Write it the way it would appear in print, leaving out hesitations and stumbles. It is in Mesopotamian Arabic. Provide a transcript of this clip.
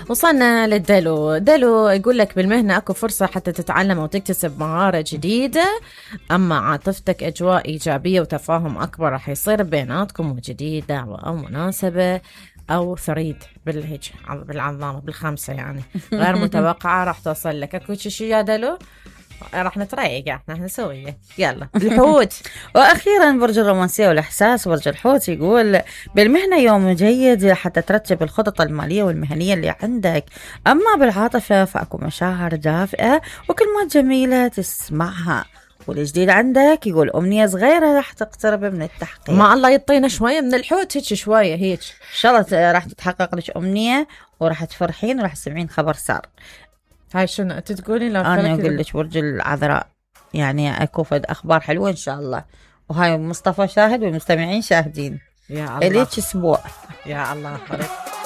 وصلنا للدلو. دلو يقول لك بالمهنة أكو فرصة حتى تتعلم أو تكتسب مهارة جديدة، أما عاطفتك أجواء إيجابية وتفاهم أكبر راح يصير بيناتكم، وجديدة أو مناسبة أو ثريد بالعظامة بالخمسة يعني غير متوقعة راح توصل لك. أكو شي يا دلو راح نتريق احنا نسويه. يلا الحوت. واخيرا برج الرومانسيه والاحساس برج الحوت يقول بالمهنه يوم جيد حتى ترتب الخطط الماليه والمهنيه اللي عندك، اما بالعاطفه فاكو مشاعر دافئه وكلمات جميله تسمعها، والجديد عندك يقول امنيه صغيره راح تقترب من التحقيق. ما الله يعطينا شويه من الحوت هيك شويه هيك ان شاء الله راح تتحقق لك امنيه وراح تفرحين وراح تسمعين خبر سار. هاي شنو انت تقولين؟ انا اقول لك برج العذراء يعني اكو فد اخبار حلوه ان شاء الله، وهاي مصطفى شاهد والمستمعين شاهدين. يا الله اليك اسبوع. يا الله.